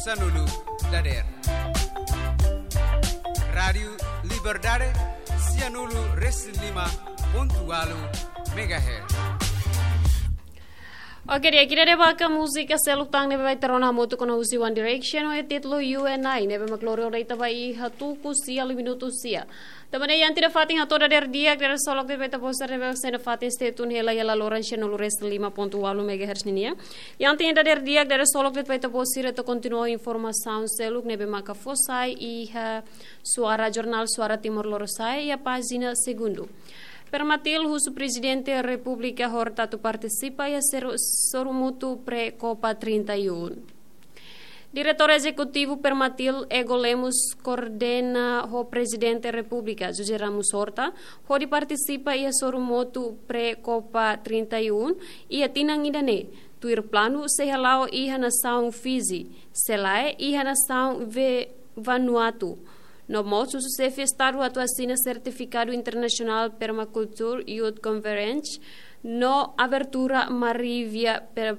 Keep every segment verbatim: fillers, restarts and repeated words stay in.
Sanulu dader. Rádiu Liberdade, sianulu resin lima pontu walu megahertz. Oke, di'ak, ida-ne'e mak múzika seluk tan ne'ebé ita rona hamutuk kona-ba husi One Direction ho títulu You and I, ne'ebé mak lori ona ita ba iha tuku sia liu minutu sia. Tanba ne'e iha ita-nia fatin hato'o dader di'ak, dader solok de'it ba ita-boot sira ne'ebé sei iha ita-nia fatin, stay tune hela iha laloran sianulu resin lima pontu walu megahertz ninian. Iha ita-nia dader di'ak, dader solok de'it ba ita-boot sira atu kontinua informasaun seluk ne'ebé maka fó sai iha Suara, Jornál Suara Timor Lorosa'e iha pájina segundu. Permatil husu Prezidente Repúblika Horta atu partisipa iha seru-, sorumutu pré-Copa trinta e um. Diretór Ezekutivu Permatil, Ego Lemos, koordena ho Prezidente Repúblika, José Ramos Horta, hodi partisipa iha sorumutu pré-Copa trinta e um iha tinan ida-ne'e, tuir planu sei hala'o iha nasaun Fiji, se lae iha nasaun Ve-, Vanuatu. No mós husu Xefe Estadu atu asina sertifikadu internasionál Permaculture Youth Conference no abertura Marivia per,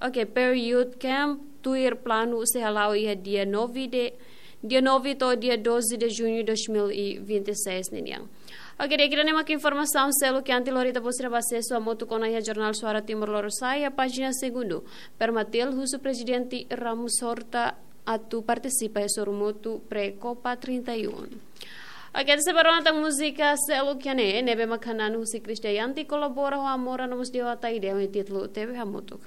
oke, per Youth Camp, tuir planu sei hala'o iha dia nove de, dia nove to'o dia doze de junho dois mil e vinte e seis ninian. Oke, di'ak, ida-ne'e mak informasaun seluk iha ita-nia lori, ita-boot sira bele asesu hamutuk ona iha Jornál Suara Timor Lorosa'e iha pájina segundu. Permatil husu Prezidente Ramos Horta atu partisipa iha sorumutu pré-Copa trinta e um. Oke, ita sei bá rona tan múzika seluk iha ne'e, ne'ebé mak hanan husi Krisdayanti kolabora ho Amora no mós Dewa Taide, ho títulu Tebe Hamutuk.